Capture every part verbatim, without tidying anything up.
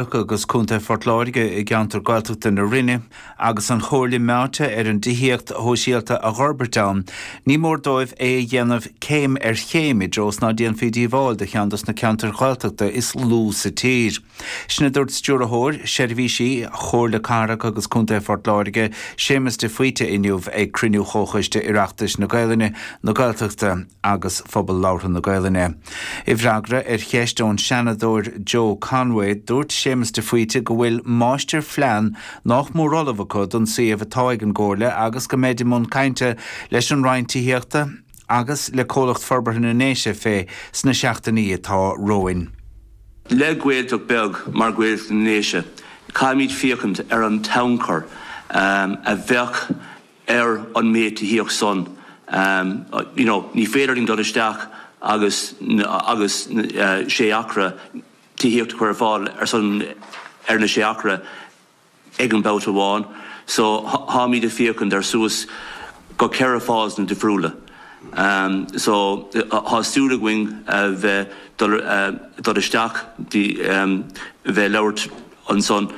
agus Contae Phort Láirge i gceantar Gaeltachta na Rinne agus an Chomhairle meáite ar an dtithíocht shóisialta a fhorbairt ann, ní mór dóibh é a dhéanamh céim ar chéim i dtreo is ná déanfaí díobháil do cheann dos na ceantair Ghaeltachta is lú sa tír. Sin a dúirt Stiúrthóir Seirbhísí Chomhairle Cathrach agus Contae Phort Láirge, Séamus de Faoite inniu ag cruinniú Chomhchoiste Oireachtais na Gaelainne, na Gaeltachta agus Phobal Labhartha na Gaelainne. I bhfreagra ar cheist ón Seanadóir Joe Conway, dúirt Séamus de Faoite go bhfuil máistirphlean nach mór ullamh acu don suíomh atá ag an gComhairle agus go mbeid i mbun cainte leis an Roinn Tithíochta agus le Comhlacht Forbartha na nDéise fé sna seachtainí atá romhainn. Le Gaeltacht beag mar Ghaeltacht na nDéise, caithfimid féachaint ar an tionchar a bheadh ar an méid tithíocht san. You know, ní féidir linn dul isteach agus agus sé acra tithíocht a chur ar fáil ar son ar na sé acra ag an babhta amháin. So táimid ag féachaint ar suas go ceithre phásanna difriúla. So tá súil againn a bheith dul dul isteach bheith labhairt ansan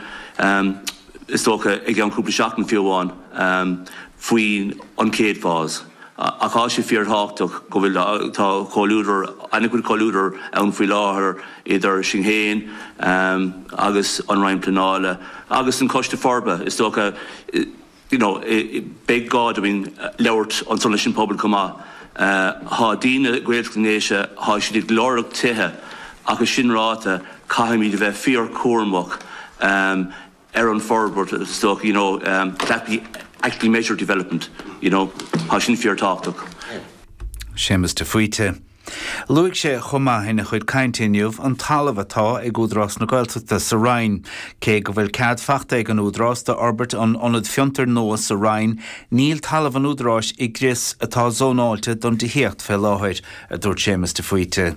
is dócha i gceann cúpla seachtain fiú amháin faoin an chéad phase. Ach tá sé fíorthábhachtach go bhfuil tá comhluadar an-chuid comhluadar ann faoi láthair idir sinn féin agus an Roinn Pleanála agus an Coiste Forbartha is dócha you know beidh gá dúinn labhairt ansan leis an pobal chomh maith. Tá daoine Gaeltacht na nDéise tá siad ag lorg tithe ach is sin ráite caithfimid a bheith fíorchúramach ar an forbairt is dócha you know that we actually measure development you know tá sin fíorthábhachtach. Séamus de Faoite. Luaigh sé chomh maith ina chuid cainte inniu an talamh atá ag Údarás na Gaeltachta sa Rinn. Cé go bhfuil cead faighte ag an Údarás d'fhorbairt an ionad fiontair nua sa Rinn, níl talamh an Údaráis i gcrios atá zónáilte don tithíocht fé láthair, a dúirt Séamus de Faoite.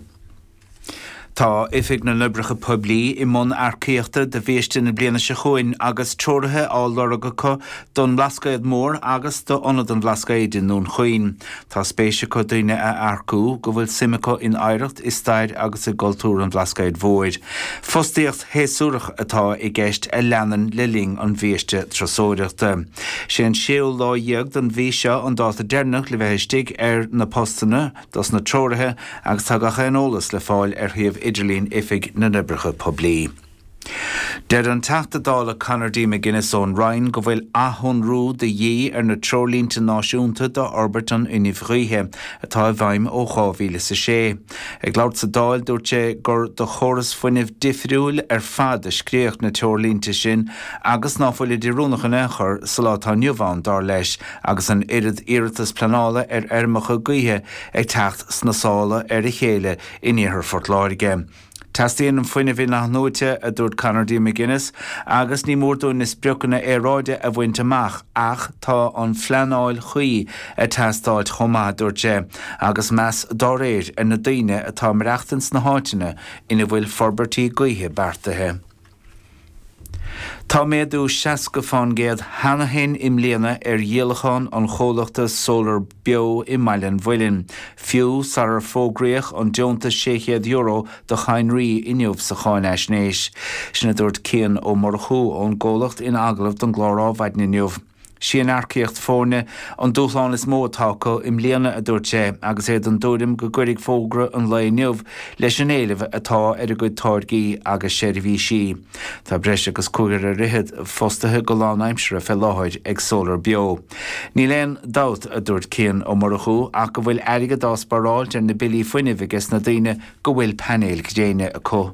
Tá Oifig na nOibreacha Poiblí i mbun earcaíochta do bhiaiste na bliana seo chugainn agus treoraithe á lorg acu don Bhlascaod Mór agus d'Ionad an Bhlascaoid i nDún Chaoin. Tá spéis acu daoine a earcú go bhfuil suim acu in oidhreacht, i stair agus i gcultúr an Bhlascaoid Mhóir. Fostaíocht shéasúrach atá i gceist a leanann le linn an bhiaiste turasóireachta. Sé an séú lá dhéag den mhí seo an dáta deireanach le bheith istigh ar na postanna dos na treoraithe agus tá gach aon eolas le fáil ar shuíomh idirlín Oifig na nOibreacha Poiblí. Deir an Teachta Dála Conor D. McGuinness ón Rinn go bhfuil athshonrú de dhíth ar na treoirlínte náisiúnta d'fhorbairt an fhuinnimh ghaoithe atá i bhfeidhm ó dhá mhíle is a sé. Ag labhairt sa Dáil dúirt sé gur do chóras fuinnimh difriúil ar fad a scríodh na treoirlínte sin agus ná fuilid oiriúnach in aon chor sa lá atá inniu ann, dar leis, agus an oiread iarratas pleanála ar fheirmeacha gaoithe ag teacht sna sála ar a chéile in iarthar Phort Láirge. Teastaíonn an fuinneamh in-athnuaite, a dúirt Conor D. McGuinness, agus ní mór dúinn na spriocanna aeráide a bhaint amach ach tá an phleanáil chuí ag teastáilt chomh maith, a dúirt sé, agus meas dá réir ar na daoine atá ag maireachtaint sna háiteanna ina bhfuil forbairtí gaoithe beartaithe. Tá méadú seasca fán gcéad cheana féin i mbliana ar dhíolachán an chomhlachta Solar Beo i mBaile an Mhuilinn, fiú sarar fógraíodh an deontas sé chéad euro do chadhnraí inniu sa cháinaisnéis. Sin a dúirt Cian Ó Murchú ón gcomhlacht in agallamh don gclár Adhmhaidin inniu. Sí an earcaíocht foirne an dúshlán is mó atá acu i mbliana, a dúirt sé, agus é den tuairim go gcuirfidh fógra an lae inniu leis an éileamh atá ar a gcuid táirgí agus seirbhísí. Tá breis agus cúigear ar fhichead fostaithe go lánaimseartha fé láthair ag Solar Beo. Níl aon dabht, a dúirt Cian Ó Murchú, ach go bhfuil airgead á spáráilt ar na billí fuinnimh ages na daoine go bhfuil painéil ghréine acu.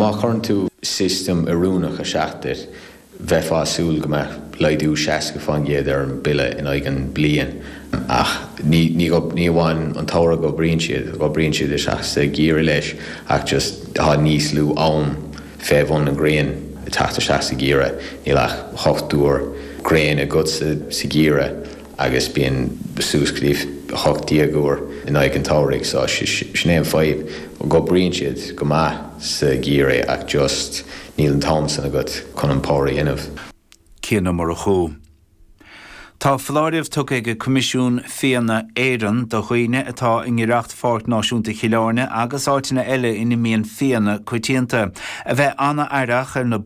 Má chuireann tú system oiriúnach isteach duit, bheifeá ag súil go mbeadh laghdú seasca fán gcéad ar an bille in aghaidh an bliain ach ní ní ní amháin an tsamhradh go oibríonn siad, go oibríonn siad isteach sa gheimhreadh leis ach just tá níos lú am fé bhun an ghrian ag teacht isteach sa gheimhreadh, níl ach hocht uair gréin agat sa sa gheimhreadh agus bíonn suas go dtí hocht déag uair in aghaidh an tsamhraidh so sin é an fadhb, go oibríonn siad go maith sa gheimhreadh ach just níl an t-am san agat chun an power a dhéanamh. Cian Ó Murchú. Tá foláireamh tugtha ag Coimisiún Fianna Éireann do dhaoine atá i ngiorracht Pháirc Náisiúnta Chill Airne agus áiteanna eile ina mbíonn fianna coitianta, a bheith an-aireach ar na